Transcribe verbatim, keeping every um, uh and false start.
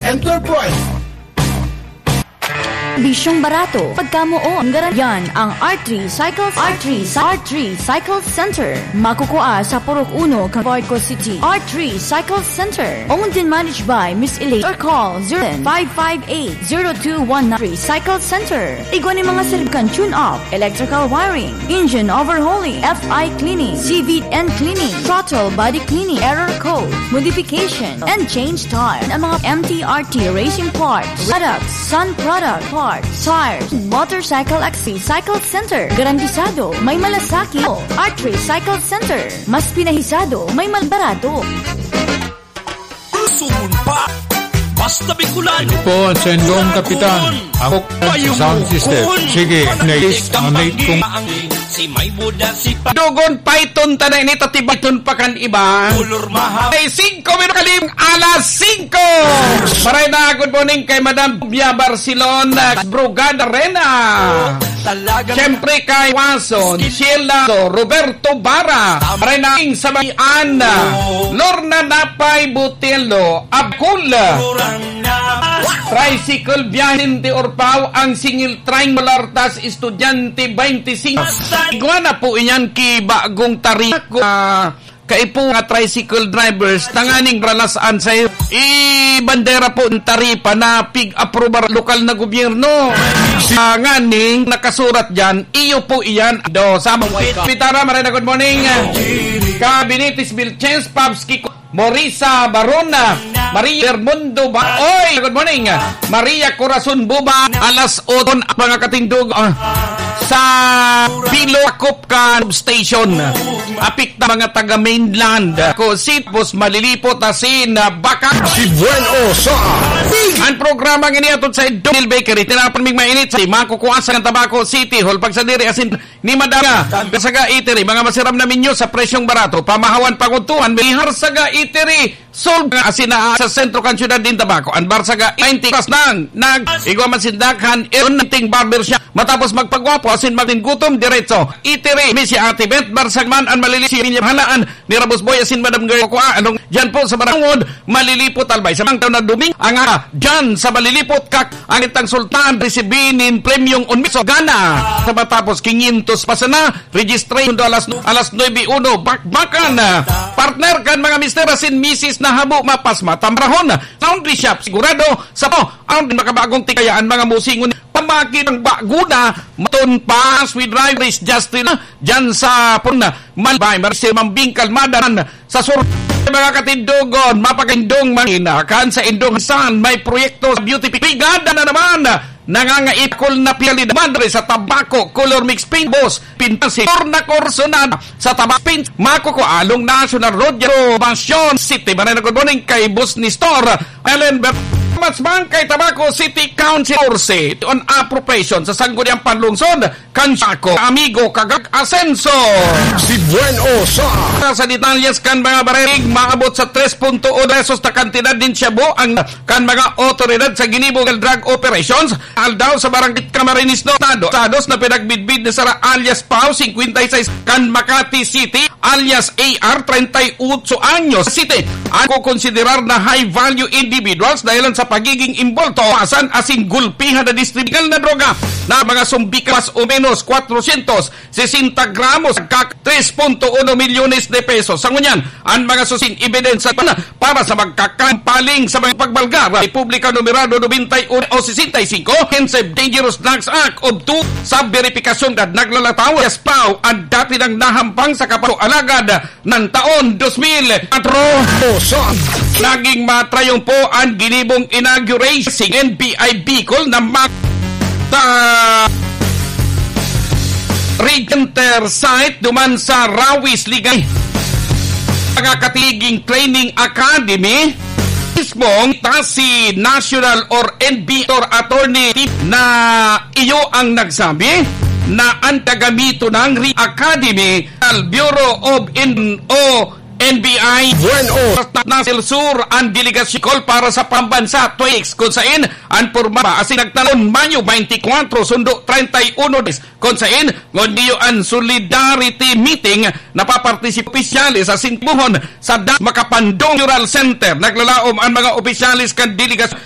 Enterprise. Bisyong barato, pagkamoon, garan-, yan ang R three Cycles, R three, R three Cycle Center. Makukua sa Purok Uno, Cavite City. R three Cycle Center. Owned and managed by Miss Elaine. Or call zero five five eight, zero two one nine. Recycle Center. Igwa ni mga serbisyong tune-up, electrical wiring, engine overhauling, F I cleaning, C V T and cleaning, throttle body cleaning, error code, modification, and change tire. Ang mga M T R T racing parts, products, sun product parts, tires, motorcycle accessory, Cycle Center. Garantisado, may malasakit. Arch Recycle Center. Mas pinahisado, may malbarato. Sungon pa. Basta Bicolan. Ito po ang Sendong Kapitan. Ako sa sound system. Sige, next, ang late kong si may buda, si pa- Dugon, paiton ta na init at ibaton pa kan iba. Kulor maha. Ay, singko minuto kalim, alas singko. Maray na, good morning kay Madam Bia Barcelona, Brugada Rena. Talagang Siyempre kay Watson, Sheila, Roberto Bara, Renaing Sabayan, Lorna Napay Butelo, Abkul, Tricycle Biyahin de Orpao, ang singil train mula Artas, Estudyante twenty-six. Igwa na po iyan ki bagong tarik. Ah, kaipo nga tricycle drivers, tanganing ralas-an sa ibandera po ang taripa na pig-aprobar lokal na gobyerno. Sa nganing nakasurat dyan, iyo po iyan. Do, sa mga pitara, Marina, good morning. Kabinitis Vilches, Pabs Kiko, Morisa Barona, Maria Bermundo ba? Oy, good morning. Maria Corazon Buba, alas otso, mga katindog, ah, sa Bilo Akop ka station. Apik na mga taga mainland. Ako, Sitbos, Malilipot, Asin, ah, Baka. Si Bueno sa Big. Ang programang iniatod sa Donil Bakery, tinapon ming mainit sa Makukuasa ng Tabaco City Hall. Pagsadiri, asin ni Madam Saga Eatery, mga masiram na menu sa presyong barato. Pamahawan, panguntuhan, Mihar Saga Eatery, Solve nga asin na sa sentro kan siyudad din Tabaco. An Barsaga, twenty plus nang nag-igwa man sinda kan Irunting Barber Shop. Matapos magpagwapo asin magin gutom, diretso. Itiri, mi si Ate Beth Barsaga man an malili si Ninya Halaan ni Rabos Boy asin Madam Girl Kua. Anong dyan po sa Barangod, Malilipot, Albay. Sa mga taon na duming, ang, ah, dyan sa Malilipot, kak, ang itang sultan, risibinin premyong un miso gana. Sa matapos, quinientos pa sana, registration do alas, alas nuebe uno, bakbakan. Partner kan mga mister asin misis na habo mapas matamrahon. Laundry shop, sigurado, sa po, ang makabagong tikayaan mga musingon. Pamaki ng bago na, maton pa, sweet rice, Justin, dyan sa pun, Malbay, Marcel Mambing, Kalmada, sa sur, mga katindogon, mapagindong manginakan sa indong san, may proyekto sa beauty brigada na naman. Nangangaipkol na piyali naman rin sa Tabaco, color mix paint boss, pintas si Corna Corsonada sa Tabaco Paint, Makukualong National Road, Robacion City. Manay na good morning kay Boss Nestor, Ellen Ber-, Mas Bangkay, Tabaco City Council, Orse, on appropriation sa Sangguniang Panlungsod, kan Saco, Amigo, Kagak, Asenso. Si Buen Osa. Sa detalyes kan mga baril, maabot sa tres punto uno pesos na kantidad din siya buo ang kan mga otoridad sa Ginibo Drug Operations, aldaw sa Barangay Camarines Norte, Estados na pinagbidbid ni Sara alias Pao, singkwenta y seis, kan Makati City, alias A R, treinta y ocho anyos, City, ang kukonsiderar na high-value individuals dahilan sa pagiging imbolto, pasan asin gulpihan na distribidor na droga na mga sumbika mas o menos kwatrosyentos sesenta gramos, kak tres punto uno milyones de pesos. Sa ngunyan, ang mga susing ebidensya pa na para sa magkakampaling sa mga pagbalgar, Republika Numerado nobenta y uno o sesenta y cinco, Offensive Dangerous Drugs Act of two, sa beripikasyon na naglalataw, Yaspaw, ang dati nang nahampang sa kapato alagad ng taon dos mil kwatro. Naging matrayong po ang ginibong inauguration N B I Bicol na mag-, sa Regenter site duman sa Rawis, Ligay. Mga katiging training academy, mismong ta si National or N B I or attorney na iyo ang nagsabi na ang tagamito ng Re-, Academy, Bureau of In-, o N B I, Buen Osa, Nasir Sur, ang delegasyon Bicol para sa pambansa, twenty-six, kung sain ang porma asin nagtaon Mayo twenty-four, sundo treinta y uno, kung sain ngunyan an solidarity meeting na papartisip opisyales sa Sintibuhon sa Da-, Makapandong Cultural Center. Naglalaom ang mga opisyales kan delegasyon